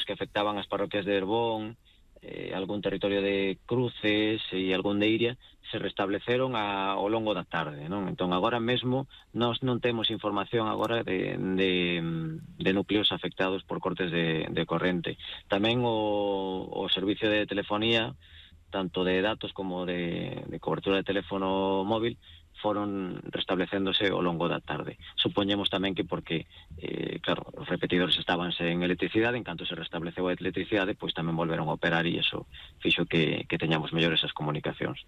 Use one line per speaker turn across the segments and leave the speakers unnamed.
que afectaban as parroquias de Herbón, algún territorio de Cruces e algún de Iria, se restableceron ao longo da tarde, non? Entón, agora mesmo, nós non temos información agora de núcleos afectados por cortes de corrente. Tamén o servicio de telefonía, tanto de datos como de cobertura de teléfono móvil, foron restablecéndose ao longo da tarde. Supoñemos tamén que porque, claro, os repetidores estaban sen electricidade, en canto se restableceu a electricidade, pois tamén volveron a operar e iso fixo que teñamos mellores as comunicacións.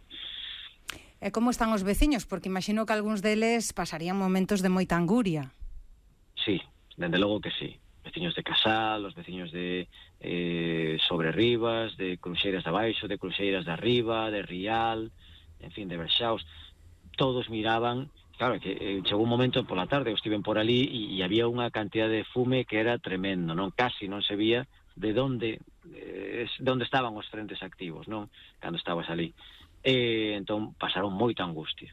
E como están os veciños? Porque imagino que algúns deles pasarían momentos de moita anguria.
Sí, dende logo que sí. Veciños de Casal, os veciños de Sobrerribas, de Cruxeiras de Abaixo, de Cruxeiras de Arriba, de Rial, en fin, de Berxaos, todos miraban. Claro, que chegou un momento pola tarde, estiven por ali e había unha cantidad de fume que era tremendo, non? Casi non se vía de onde estaban os frentes activos, non? Cando estabas ali. Entón pasaron moita angustia.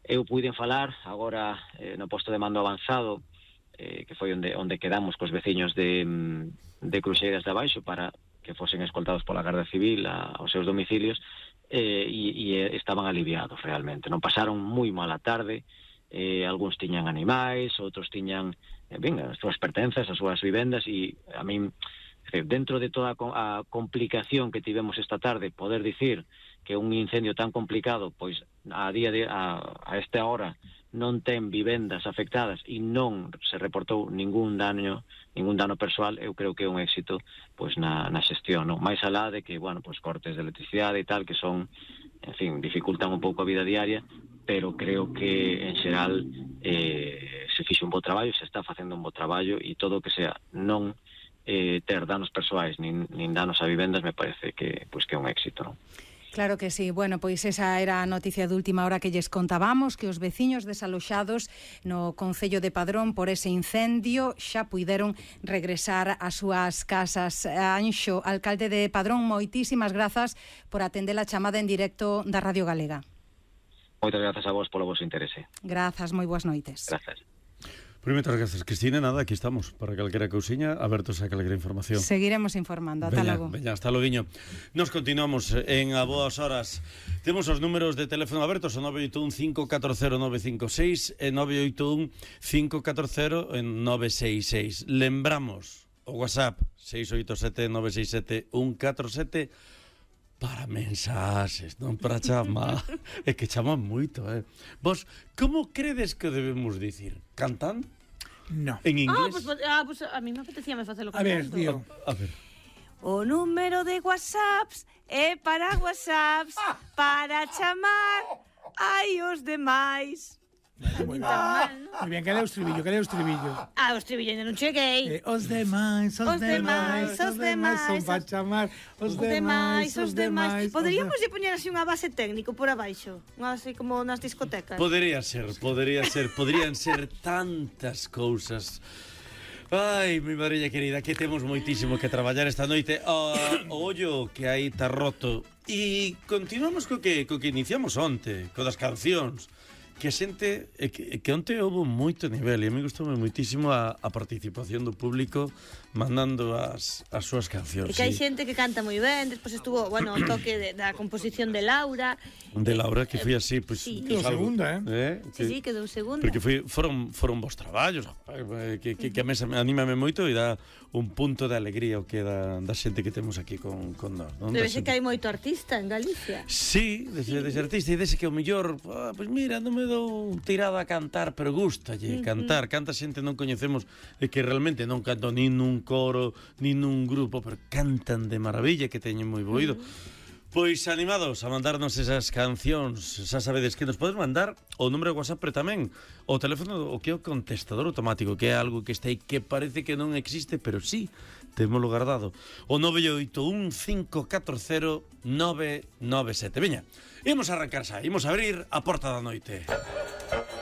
Eu puiden falar agora no posto de mando avanzado, que foi onde quedamos cos veciños de Cruxeiras de Abaixo para que fosen escoltados pola Garda Civil aos seus domicilios, e estaban aliviados realmente. Non pasaron moi mala tarde, algúns tiñan animais, outros tiñan as súas pertenzas, as súas vivendas, e a min, dentro de toda a complicación que tivemos esta tarde, poder dicir que un incendio tan complicado, pois a esta hora non ten vivendas afectadas e non se reportou ningún dano persoal, eu creo que é un éxito pois na xestión, non? Mais alá de que, bueno, pois cortes de electricidade e tal, que son, en fin, dificultan un pouco a vida diaria, pero creo que en xeral se fixe un bo traballo, se está facendo un bo traballo, e todo o que sea non ter danos persoais nin danos a vivendas me parece que é un éxito, non?
Claro que sí. Bueno, pois esa era a noticia de última hora que lles contábamos, que os veciños desaloxados no concello de Padrón por ese incendio xa puideron regresar ás súas casas. Anxo, alcalde de Padrón, moitísimas grazas por atender a chamada en directo da Radio Galega.
Moitas grazas a vos polo vosso interese.
Grazas, moi boas noites.
Grazas.
Moitas grazas, Cristina. Nada, aquí estamos para calquera cousiña, abertos a calquera información.
Seguiremos informando, ata logo.
Veña, hasta loguiño. Nos continuamos en A Boas Horas. Temos os números de teléfono abertos, o 981-540-956 e 981-540-966. Lembramos o WhatsApp 687-967-147 para mensaxes, non para chamar. É que chaman moito, Vos, como credes que debemos dicir? Cantando?
No.
En inglés?
Pues a mí me apetecía facelo cantando.
A ver, tío.
A ver.
O número de WhatsApps é para WhatsApps para chamar ai os demais.
Moi ben, que é o estribillo,
o estribillo ainda non cheguei.
Os demais son para chamar os demais.
Poderíamos poñer así unha base técnico por abaixo, unha base como nas discotecas.
Podrían ser tantas cousas. Ai, mi madriña querida, que temos moitísimo que traballar esta noite. O ollo que aí está roto. E continuamos co que iniciamos onte, co das cancións. Que a xente, que onte houve moito nivel, e a mí gustoume moitísimo a participación do público mandando as súas cancións.
E que hai xente que canta moi ben, despois estuvo, bueno, o toque da composición de Laura.
De Laura, que foi así, pois...
Sí.
Quedou segunda,
Sí, quedou segunda.
Porque foron vos traballos, que a mesa anímame moito e dá un punto de alegría o que da xente que temos aquí con nós.
Debe ser que hai moito artista en Galicia.
Sí, dese artista, e dese que o mellor, pois mira, non me dou tirada a cantar, pero gustalle cantar. Canta xente non coñecemos e que realmente non canto nin nun coro, nin nun grupo, pero cantan de maravilla, que teñen moi bo oído. Pois animados a mandarnos esas cancións. Xa sabedes que nos podes mandar o número de WhatsApp, pero tamén o teléfono, o que é o contestador automático, que é algo que está aí que parece que non existe, pero sí, témolo guardado. O 981-540-997. Veña, imos arrancar xa, imos abrir a porta da noite.